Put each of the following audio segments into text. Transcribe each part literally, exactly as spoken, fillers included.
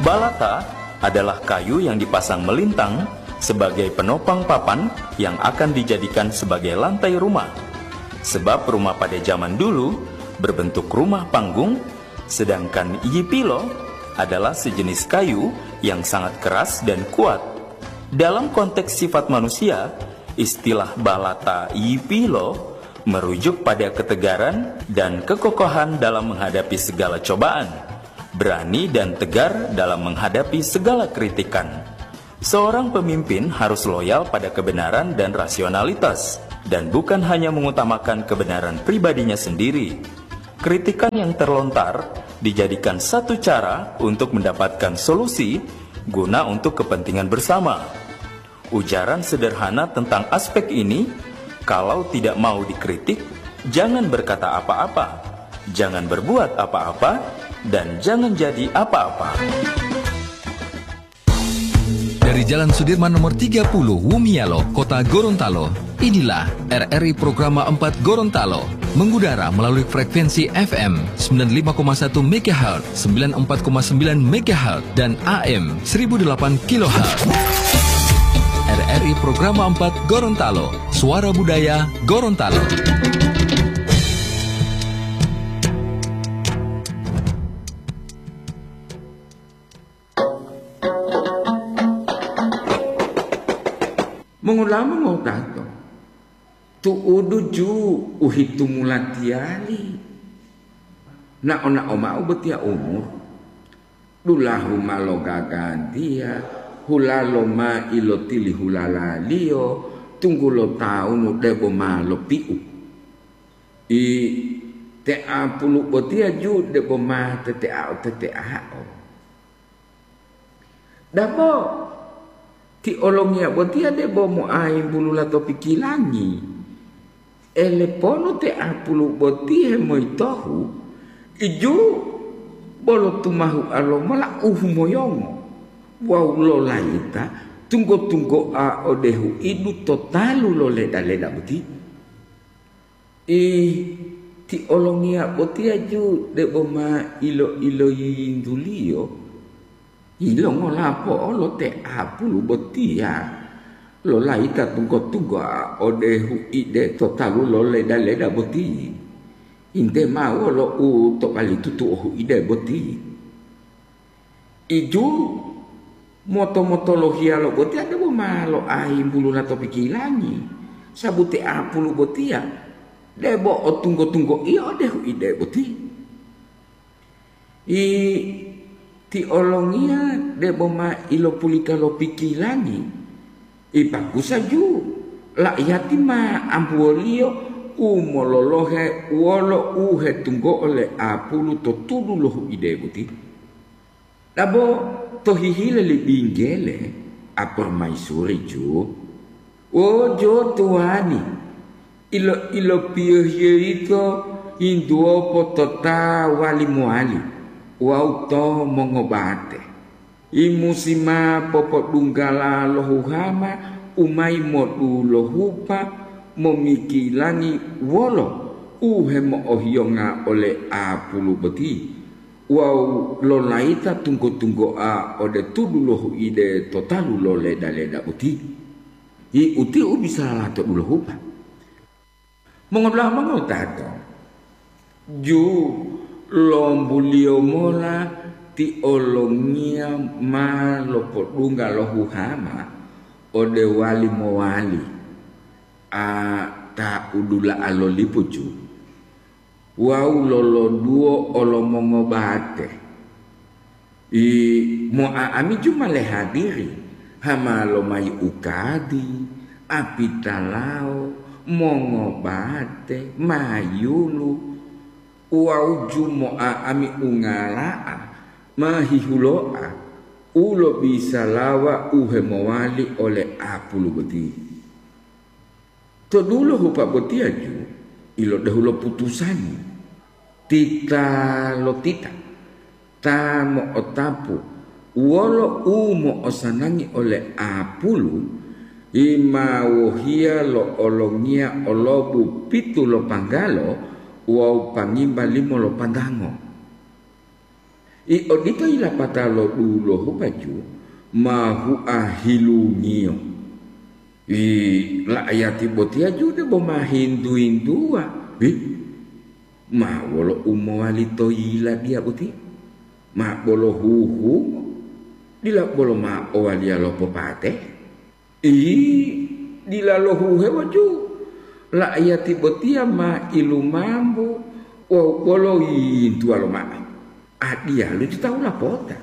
Balata adalah kayu yang dipasang melintang sebagai penopang papan yang akan dijadikan sebagai lantai rumah. Sebab rumah pada zaman dulu berbentuk rumah panggung, sedangkan yipilo adalah sejenis kayu yang sangat keras dan kuat. Dalam konteks sifat manusia, istilah balata yipilo merujuk pada ketegaran dan kekokohan dalam menghadapi segala cobaan, berani dan tegar dalam menghadapi segala kritikan. Seorang pemimpin harus loyal pada kebenaran dan rasionalitas, dan bukan hanya mengutamakan kebenaran pribadinya sendiri. Kritikan yang terlontar dijadikan satu cara untuk mendapatkan solusi guna untuk kepentingan bersama. Ujaran sederhana tentang aspek ini, kalau tidak mau dikritik, jangan berkata apa-apa, jangan berbuat apa-apa, dan jangan jadi apa-apa. Dari Jalan Sudirman nomor tiga puluh, Wumialo, Kota Gorontalo, inilah R R I Programa empat Gorontalo, mengudara melalui frekuensi F M sembilan lima koma satu megahertz, sembilan empat koma sembilan megahertz, dan A M seribu delapan kilohertz. R R I Programa empat Gorontalo, Suara Budaya Gorontalo. Mongolama ngotato, tu'udu ju u hitumula tiyali. Nao-nao mao botiya umur, dulahu ma logagantiya, hulalo ma ilotilihulalaliyo, tunggulo tawunu debo ma lopi'u. I teapulu botiya ju debo ma teteao-teteao. Dabo, ti olongiya botiya debo moayimbulula to pikilangi. Eleponu te apulu boti hemoyitohu, iju bolo tumahua lomola u humoyongo wawu lolayita tunggo-tunggoa ode huidu to talu lo leda-leda boti. Ih, ti olongiya botiya ju debo ma ilo-iloyiyintuliyo, yilongola po'olo te apulu botiya lolayita tunggo-tunggoa ode huide to talu lo leda-leda boti? Ente mao wolo u to balitutu'o huide boti. Iju moto-motolohiya lo botiya debo ma loayimbulula to pikilangi, sabu te apulu botiya debo otunggo-tunggoiyo ode huide boti. I ti olongiya debo ma ilopulita lo pikilangi, ipakusa ju laiyati ma ambuwoliyo u mololohe wolo u hetunggo'o le apulu to tudu lo huide boti. Dabo to hihile li binggele, apormaisuri ju, "Wo jo tuwani, ilo-ilopiyohiyo yito yintuwopo to ta wali mowali wawu to mongobate. I musi ma popodunggala lo huhama u mayi modulohupa momikilangi wolo u hemo'ohiyonga ole apulu boti wawu lolayita tunggo-tunggoa ode tudu lo huide to talu lo leda-leda boti. Hi uti u bisala to dulohupa." Mongodula'a mongowutato, ju lombuliyo mola ti olongiya ma lopodungga lo huhama ode wali mowali, a ta udula'a lo lipu ju, wawu loloduwo olomongobate. I mo'a'ami ju ma lehadiri, hama lomayi ukadi, apitalawo, mongobate, mayulu, wawu ju mo'a'ami ungala'a ma hihulo'a u lobisalawa u hemowali ole apulu boti. To dulo hupa botiya ju ilodehu lo putusani, titalotita ta mo'otapu wolo u mo'osanangi ole apulu, i ma wohiya lo olongiya olobu pitu lo panggalo wawu pangimba limo lo pandango. I odito yilapata lo dulohu baju ma hua hilungiyo. I la'ayati botiya ju debo ma hintu-hintuwa. Hi, ma wolo u mowali to yiladiya boti? Ma bolo huhungo, dila bolo ma owaliya lo popate? Ih, dila lohuhewo ju. La'ayati botiya ma ilumambo wawu bolo yintuwa lomao. Adiyalu ti tawu lapota.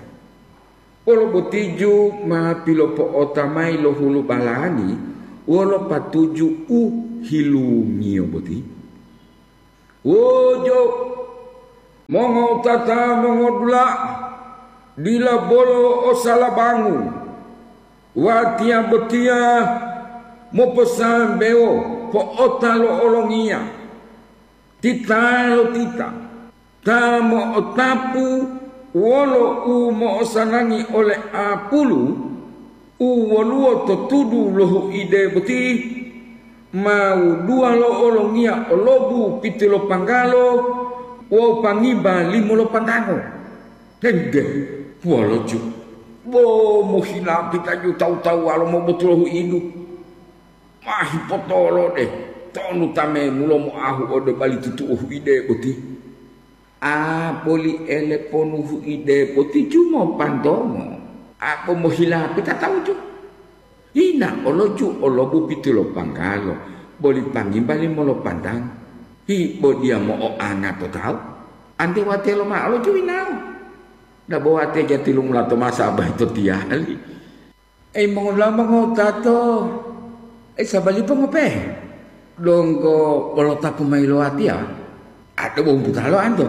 Wolo boti ju ma pilopo'ota mayi lo hulubalani wolo patuju u hilungiyo boti. Wojo, mongowutata mongodula'a, dila bolo o salabangu. Watiya botiya moposambewo po'ota lo olongiya, titalotita ta mo'otapu wolo u mo'osanangi ole apulu u woluwo to tudu lo huide boti, ma wuduwa lo olongiya o lobu pitilopanggalo wawu pangimba limo lo pandango. Dende, wolo ju, bo mohilapita ju tawu-tawuwalo mobotu lo huidu. Ma hipotolode, tonu ta memulo moahu ode bali tutuo huide boti. A boli eleponu huide boti ju mopantongo, a bo mohilapita tawu ju. Yina olo ju o lobu pitilopanggalo, boli pangimba limo lo pandango. Hi bo diya mo'oanga to tawu, ante wate lomao lo ju yinawo. Dabo wate jatilumula to masa bayi to tiyali. Ei, mongolama ngotato, ei, sabalipo ngopehe? Donggo bolo tapu mayi lo watiya? Ado bo umbuta lo anto?